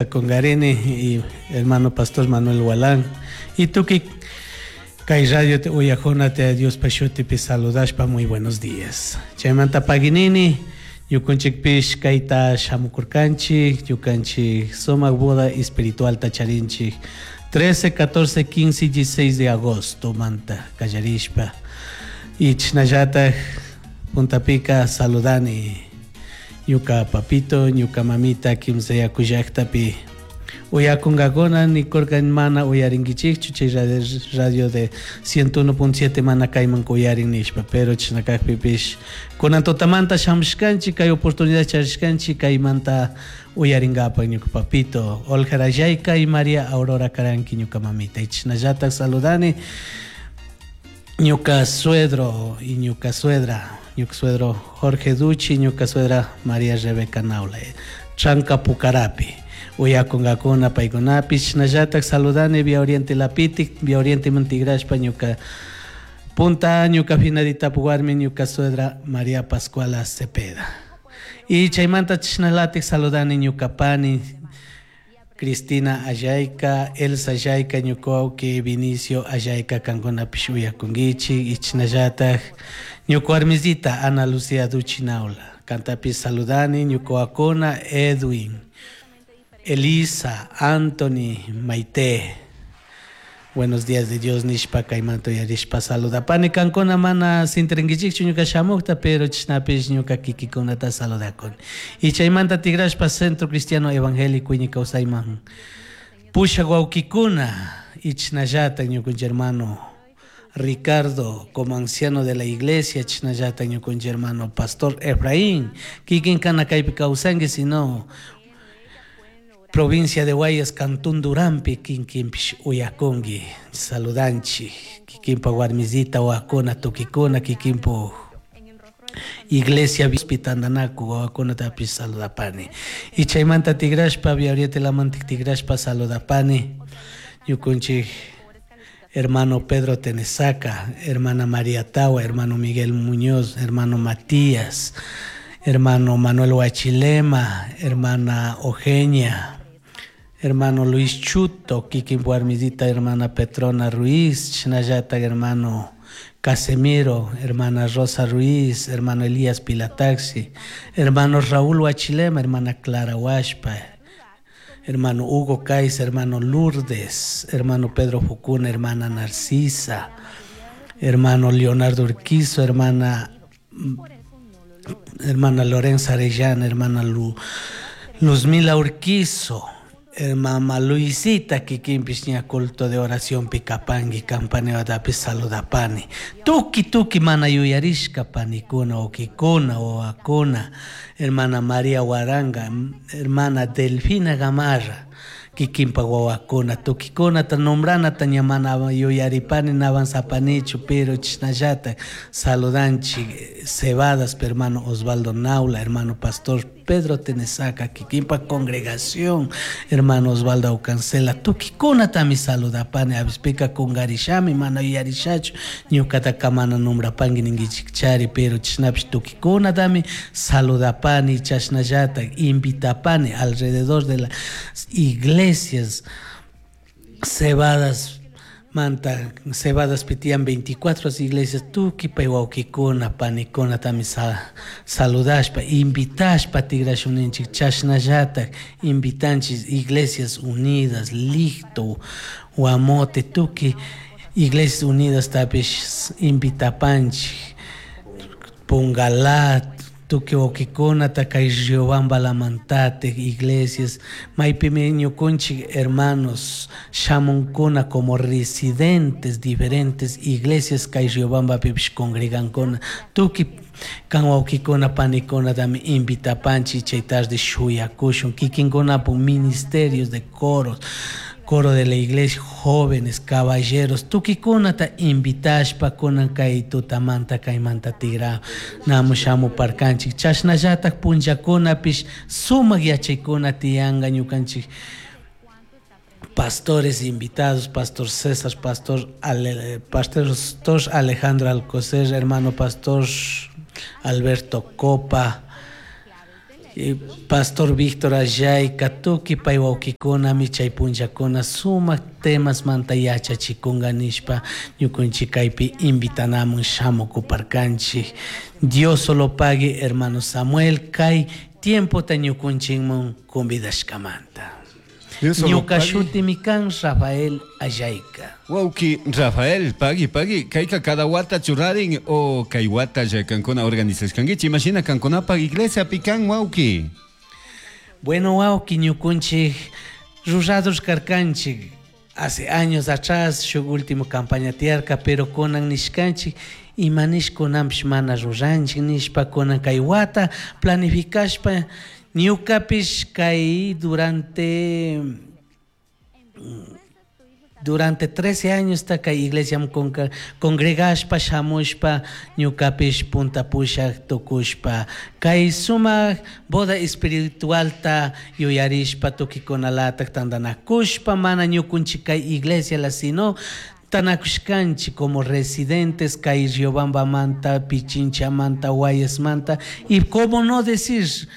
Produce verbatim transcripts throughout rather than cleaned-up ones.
Congarini y hermano pastor Manuel Walán y tukuy kay radio te uyajunata Diospa shutipi saludashpa muy buenos días. Chaymanta paginini ñukunchikpish kayta shamukurkanchik ñukanchik sumak boda espiritual charinchik trece, catorce, quince y dieciséis de agosto manta kallarishpa y chashnallatak puntapika saludani ñuka papito, ñuka mamita kimsa yaku llaktapi uyakunkakuna nikurka mana uyarinkichikchu chay radio de ciento uno punto siete mana kayman uyarin nishpa, pero chashna kakpipish kunan tutamanta shamushkanchik kay oportunidad charishkanchik kaymanta uyarinkapak ñuka papito Olga Rayayka y María Aurora Karanki ñuka mamita y chashnallatak saludani ñuka suegro y ñuka suegra, ñuka suegro Jorge Duchi, ñuka suegra María Rebeca Naula, Chanca Pucarapi uyakunkakuna paykunapish chashnallatak saludani Vía Oriente Lapitik, Vía Oriente Montigrashpa ñuka punta ñuka finadita warmi ñuka suegra María Pascuala Cepeda y chaymanta chashnalatik saludani ñuka pani Cristina Ayayka, Elsa Ayayka, ñuka wawki Vinicio Ayayka kankunapish uyakunkichik y chashnallatak ñuka warmisita Ana Lucía Duchi Naula kantapish saludani ñuka wawakuna Edwin, Elisa, Anthony, Maite. Buenos días de Dios nishpa kaymanta uyarishpa saludapani kankuna mana sintirinkichikchu ñuka shamukta pero chashnapish ñuka kikikunata saludakuni y chaymanta tigrashpa Centro Cristiano Evangélico Iñi Kawsayman pushak wawkikuna y chashnallatak ñukanchik hermano Ricardo como anciano de la iglesia chashnallatak ñukanchik hermano Pastor Efraín kikin kana kaypi kawsanki sino provincia de Guayas, Cantón Durampi, kinkinpish uyakunki, saludanchik, kikinpa warmisita, wawakuna, tukikuna, kikinpu iglesia tandanaku wawakunatapish saludapani. Y chaymanta tigrashpa, Vía Oriente Lamantik tigrashpa saludapani, ñukunchik hermano Pedro Tenesaca, hermana María Tawa, hermano Miguel Muñoz, hermano Matías, hermano Manuel Huachilema, hermana Eugenia, hermano Luis Chuto, kikin warmisita, hermana Petrona Ruiz, chashnallatak hermano Casemiro, hermana Rosa Ruiz, hermano Elías Pilataxi, hermano Raúl Huachilema, hermana Clara Huashpa, hermano Hugo Caiz, hermano Lourdes, hermano Pedro Fucuna, hermana Narcisa, hermano Leonardo Urquizo, hermana, hermana Lorenza Arellana, hermana Lu, Luzmila Urquizo, hermana Luisita kikinpish ña culto de oración pikapangui campanewatapish saludapani tuki tuki mana yuyarishka panikuna wawkikuna wawakuna hermana María Huaranga, hermana Delfina Gamarra kikinpa wawakuna tukikunata nombranata ña mana yuyaripani navanzapanichu pero chashnallatak saludanchik Cebadas hermano Osvaldo Naula, hermano pastor Pedro Tenesaca, kikinpa congregación, hermano Osvaldo Aucancela, tukikunatami saludapani avispika kungarishami mana yuyarishachu ñukataka mana nombrapangui ninkichikchari pero chashnapish tukikunatami saludapani chashnallatak invitapani alrededor de las iglesias Cebadas manta Cebadas pitian veinticuatro iglesias tukuy pay wawkikuna panikunatami sa saludashpa invitashpa tigrashuninchik chashnallatak invitanchik Iglesias Unidas Licto Guamote tukuy Iglesias Unidas tapish invitapanchik Pungalá tukuy wawkikunata kay Riobamba Lamantate iglesias maypimi ñukunchik hermanos shamunkuna como residentes diferentes iglesias kay Riobambapipish congregankuna tukuy kan wawkikuna panikunatami invitapanchik chay tarde shuyakushun kikinkunapuk ministerios de coros coro de la iglesia, jóvenes, caballeros, tukikunata invitashpa kunan kay tutamanta kaymanta tigra namu shamu parkanchik chashnallatak punllakunapish sumak yachaykuna tiyanka ñukanchik pastores invitados, pastor César, pastor, Ale, pastor Alejandro Alcocer, hermano pastor Alberto Copa, Pastor Víctor Ayayka tukuy pay wawkikunami chay punllakuna sumak temas manta yachachikunga nishpa ñukunchik kaypi invitanamun shamukuparkanchik. Dios solo pague, hermano Samuel, kay tiempota ñukunchikmun convidashkamanta. Ñuka shutimi kan Rafael Ayayka. Wauki Rafael, pagui, pagui, kayka cada wata churarin o kay wata ya kankuna organizashkankichik, imashina kankunapaq iglesia pikan wauki. Bueno, wauki, ñukunchik rurados karkanchik hace años atrás, shuk último campaña tiyarka, pero kunan nishkanchik imanish kunanpish mana ruranchik nishpa kunan kay wata planificashpa ñukapish kay durante durante trece años ta kay iglesia congregashpa shamushpa ñukapish punta pushak tukushpa kay sumak boda espiritualta yuyarishpa tukikunalatak tantanakushpa mana ñukunchik kay iglesia la sino tanakushkanchik como residentes kay Riobambamanta, Pichinchamanta, Guayasmanta y cómo no decir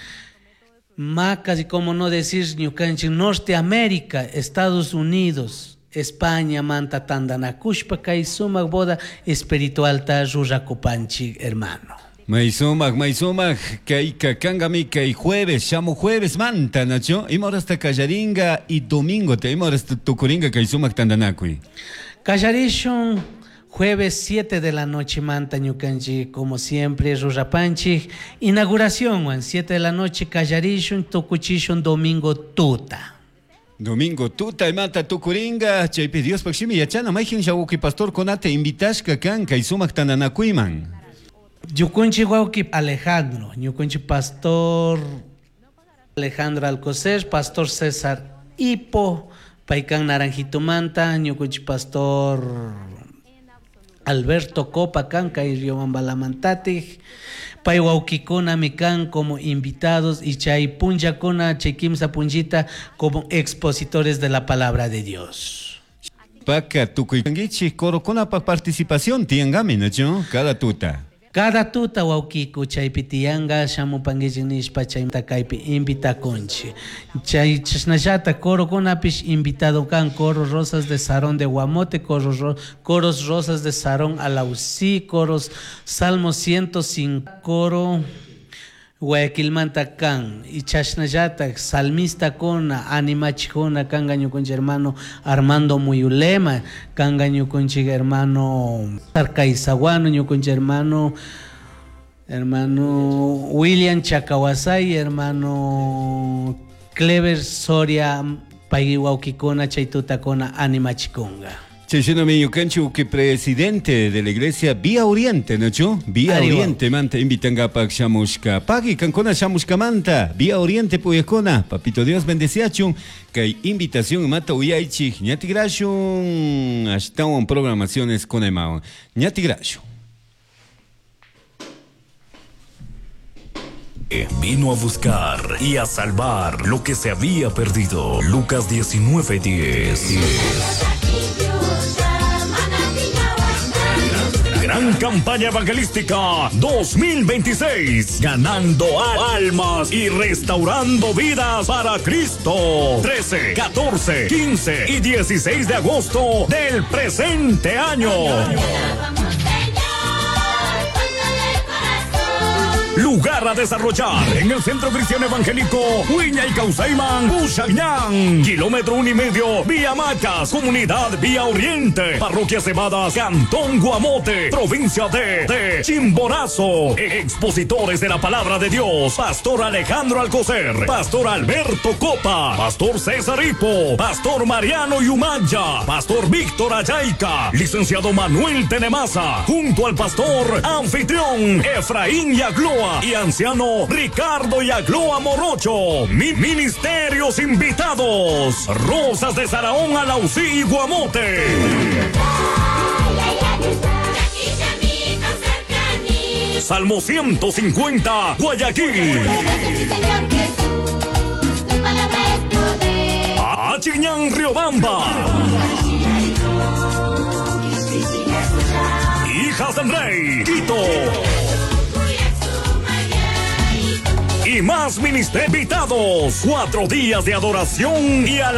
Macas y cómo no decir ñukanchik Norteamérica, Estados Unidos, España manta tantanakushpa kay sumak boda espiritualta rurakupanchik, hermano. May sumak, may sumak, kayka kangami kay jueves, shamu jueves manta, nacho, ima horasta kallaringa y domingo te ima horasta tukuringa kay sumak tantanakuy. Kallarishun jueves siete de la noche manta ñukanchik, como siempre rurapanchik, inauguración wan siete de la noche kallarishun tukuchishun domingo tuta. Domingo tuta imanta tukuringa, chaypi Diospaq shimi yachana mayjin wawki pastor kunata invitashka kan kay sumak tantanakuyman. Ñukunchik wawki Alejandro, ñukunchik pastor Alejandro Alcocer, pastor César Hipo, paykan Naranjitomanta, ñukunchik pastor Alberto Copa kan kay Riobambalamantatik, pay wawkikunami kan como invitados y chay punllakuna, chay kimsa punllita como expositores de la palabra de Dios. Paka tukuykankichik corokunapaq participación tiyangami, nacho, cada tuta. Cada tuta wawkiku chaypi tiyanga shamupankichik nishpa chayta kaypi invitakunchik. Chay chashnallata corokunapish invitado kan coro Rosas de Sarón de Guamote, coro ro, coros Rosas de Sarón Alausí, coros Salmo ciento cinco, coro Guayaquilmanta kan y chashnallata salmista kuna animachikuna kanga ñukunchik hermano Armando Muyulema, kanga ñukunchik hermano Arcaizaguano, ñukunchik hermano hermano William Chacawasay, hermano Clever Soria, pay wawkikuna chay tutakuna animachikunga. Chayshina ñukanchik que presidente de la iglesia Vía Oriente, ¿no? Vía Ariwa. Oriente manta invitangapak shamushka. Pagui kankuna shamushka manta. Vía Oriente puyakuna. Papito Dios bendeciachun. Kay invitación mata uyaychik. Ñatigrashun. Ashtawan programaciones con emaon. Ñatigrashun. Vino a buscar y a salvar lo que se había perdido. Lucas diecinueve diez. Gran campaña evangelística dos mil veintiséis, ganando almas y restaurando vidas para Cristo. trece, catorce, quince y dieciséis de agosto del presente año. Lugar a desarrollar en el Centro Cristiano Evangélico Huiña y Causaiman, Bushagñán, kilómetro uno y medio, Vía Macas, Comunidad Vía Oriente, Parroquia Cebadas, Cantón Guamote, provincia de, de Chimborazo. Expositores de la Palabra de Dios, Pastor Alejandro Alcocer, Pastor Alberto Copa, Pastor César Hipo, Pastor Mariano Yumaya, Pastor Víctor Ayayka, Licenciado Manuel Tenemaza, junto al Pastor Anfitrión Efraín Yagloa y anciano Ricardo Yagloa Morocho. Mi ministerios invitados: Rosas de Saraón, Alausí y Guamote. Salmo ciento cincuenta, Guayaquil. Achiñán, Riobamba. Hijas del Rey, Quito. Y y más ministerios invitados. Cuatro días de adoración y alabanza.